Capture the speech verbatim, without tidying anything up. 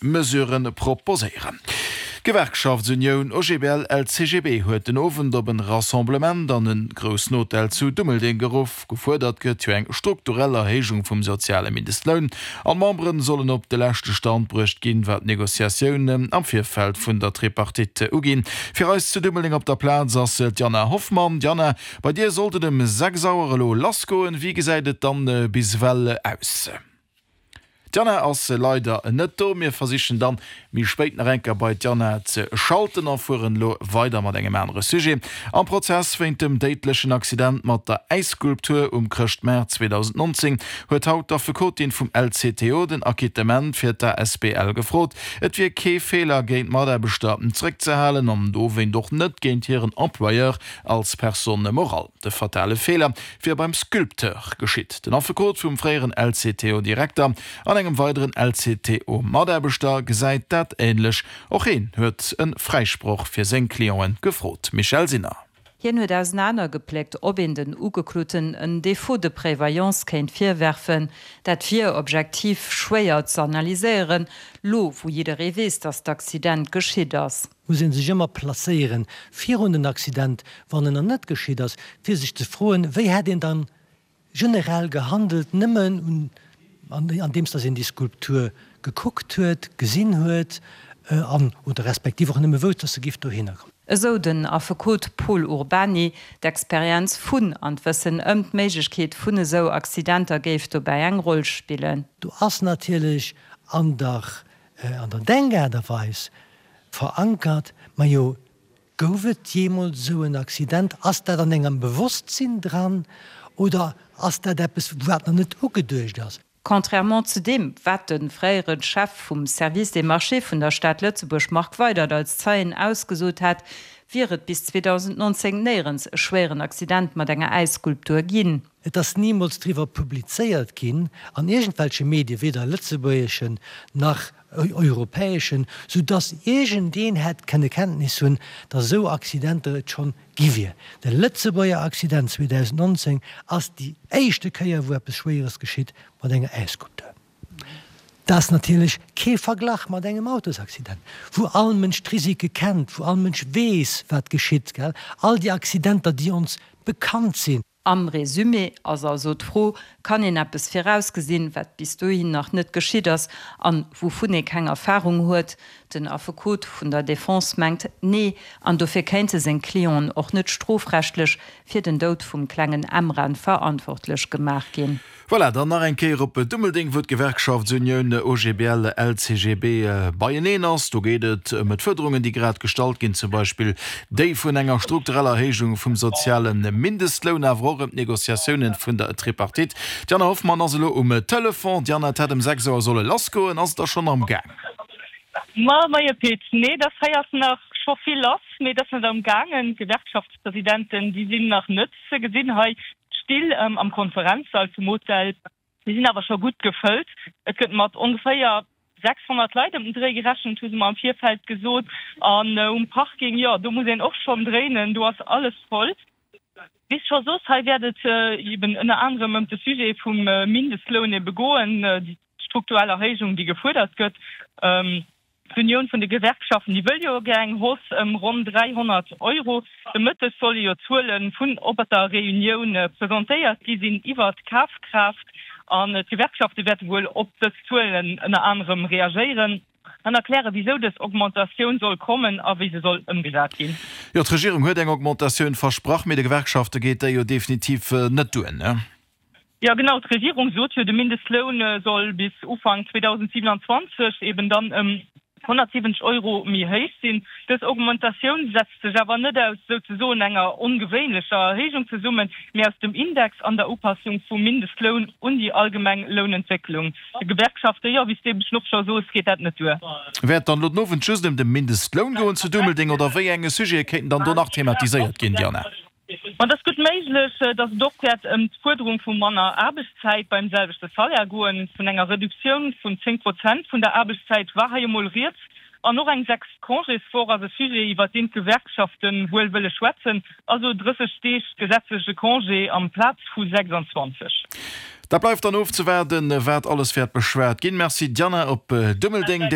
Mesuren proposéieren. D'Gewerkschaftsunioun OGBL-LCGB huet den Owend op en Rassemblement an en groussen Hotel zu Dummeldeng geruff. Gefuerdert gëtt jo eng strukturell Erhéijung vum soziale Mindestloun. An d'Memberen sollen op de leschte Stand bruecht ginn, wat d'Negociatiounen am Virfeld vun der Tripartite uginn. Fir eis zu Dummeldeng op der Plaz ass d'Jana Hoffmann. Jana, bei dir sollt et ëm sechs Auer elo lassgoen. Wéi gesäit et dann bis ewell aus? D'Jana ass leider net do. Mir versichen dann méi spéit nach eng Kéier bei d'Jana ze schalten a fueren elo weider mat engem anere Sujet. Am Prozess wéint dem déidlechen Accident mat der Äisskulptur um Chrëschtmaart zweedausendnonzéng huet haut d'Affekotin vum L C T O den Acquittement fir d'A S B L gefrot. Et wier kee Feeler géint d'Mataarbechter zréckzehalen an dowéint och net géint hiren Employeur als Personne morale. De fatale Feeler wier beim Sculpteur geschitt. Den Affekot vum fréieren L C T O-Direkter an engem weideren L C T O-Mataarbechter gesäit dat änlech. Och hien huet e Fräisproch fir seng Clienten gefrot. Michèle Sinner. Hien huet ausenanergepléckt, ob een den Ugekloten en Défaut de prévoyance kéint virwerfen. Dat wier objektiv schwéier ze analyséieren, lo wou jidderee weess, datt d'Accident geschitt ass. Muss een sech ëmmer placéieren virun den Accident, wann en nach net geschitt ass, fir sech ze froen, wéi hätt een dann generell gehandelt, nëmmen un andeems datt een déi Skulptur gekuckt huet, gesinn huet an oder respektiv och nëmme wousst, datt se giff dohinner kommen. Esou den Affekot Pol Urbany. D'Experienz vun an d'Wëssen ëm d'Méiglechkeet vun esou Accidenter géif dobäi eng Roll spillen. Do ass natierlech an der an der Denkaart a Weis verankert, majo, gouf et jeemools esou en Accident? Ass dat an engem Bewosstsinn dran oder ass dat eppes, wat nach net ugeduecht ass? Contrairement zu deem, wat de fréiere Chef vum Service des marchés vun der Stad Lëtzebuerg Marc Weydert als Zeien ausgesot hat, wier et bis zweedausendnonzéng néierens e schwéieren Accident mat enger Äisskulptur ginn. Et ass nimools driwwer publizéiert ginn an iergendwelche Medien, weder lëtzebuergeschen nach europäeschen, sou dass iergendeen hätt kënne Kenntnis hunn, dass esou Accidenter et schonn gi wier. De Lëtzebuerger Accident zweedausendnonzéng ass déi éischte Kéier, wou eppes Schwéieres geschitt mat enger Äisskulptur. Dat ass natierlech kee Verglach mat engem Autosaccident, wou all Mënsch d'Risike kennt, wou all Mënsch weess, wat geschitt, gell, all déi Accidenter, déi ons bekannt sinn. Am Resumé ass also d'Fro, Kann een eppes virausgesinn, wat bis dohin nach net geschitt ass an wouvun ee keng Erfarung huet? Den Affekot vun der Defense mengt, Nee, an dofir kéinte seng Clienten och net strofrechtlech fir den Doud vum klengen Emran verantwortlech gemaach ginn. Voilà, dann nach eng Kéier op Dummeldeng, wou d'Gewerkschaftsunioun O G B L L C G B beieneen ass. Do geet et ëm d'Fuerderungen, déi grad gestallt ginn, zum Beispill déi vun enger struktureller Erhéijung vum soziale Mindestloun, awer och ëm d'Negociatiounen vun der Tripartite. D'Jana Hoffmann ass elo um Telefon. D'Jana, et hätt ëm sechs Auer solle lassgoen. Ass et da schonn am Gaang? Ma moie Pit, nee, dat hei ass nach scho vill lass, mee dat ass net am gaangen. D'Gewerkschaftspresidenten, déi sinn nach net ze gesinn hei. D'Still am Konferenzsall vum Hotel, déi sinn awer scho gutt gefëllt. Et gëtt mat ongeféier sechshonnert Leit ëm den Dréi gerechent, hu se mer am Virfeld gesot. An um Parking, jo, do muss een och schonn dréinen, do ass alles voll. Wéi s scho sos, hei wäert et eben ënner anerem ëm de Sujet vum Mindestloun ebe goen, déi strukturell Erhéijung, déi gefuerdert gëtt. D'Unioun vun de Gewerkschaften, déi wëll jo gär eng Hausse ëm ronn dräihonnert Euro. De Mëtteg solle jo d'Zuele vun op der Reunioun presentéiert gi sinn iwwert d'Kafkraaft. An d'Gewerkschafte wäerte wuel op dës Zuelen ënner anerem reagéieren an erklären, wisou dës Augmentatioun soll kommen a wéi se soll ëmgesat ginn. Jo, d'Regierung huet eng Augmentatioun versprach, mee de Gewerkschafte geet déi jo definitiv net duer, ne? Jo genau, d'Regierung sot jo, de Mindestloun soll bis Ufank zweedausendsiewenanzwanzeg eben dann ëm honnertsiwwenzeg Euro méi héich sinn. Dës Augmentatioun setzt sech awer net aus souzesoen enger ongewéinlecher Erhéijung zesummen, mee aus dem Index an der Upassung vum Mindestloun un déi allgemeng Lounentwécklung. De Gewerkschafte, jo, wéi s de eben och scho sos, geet dat net duer. Wäert dann elo den Owend just ëm de Mindestloun goen zu Dummeldeng oder wéi enge Sujete kéinten dann do nach thematiséiert ginn, Diana? Ma et ass gutt méiglech, datt et och wäert ëm d'Fuerderung vu manner Aarbechtszäit beim selwechte Salaire goen. Vun enger Reduktioun vun zéng Prozent vun der Aarbechtszäit war hei emol rieds. An och eng sechs Congéswoch ass e Sujet, iwwer deen d'Gewerkschafte wuel wëlle schwätzen, also drësseg Deeg gesetzleche Congé amplaz vu sechsanzwanzeg. Dat bleift dann ofzewaarden, wat alles wäert beschwat ginn. Merci Diana op Dummeldeng.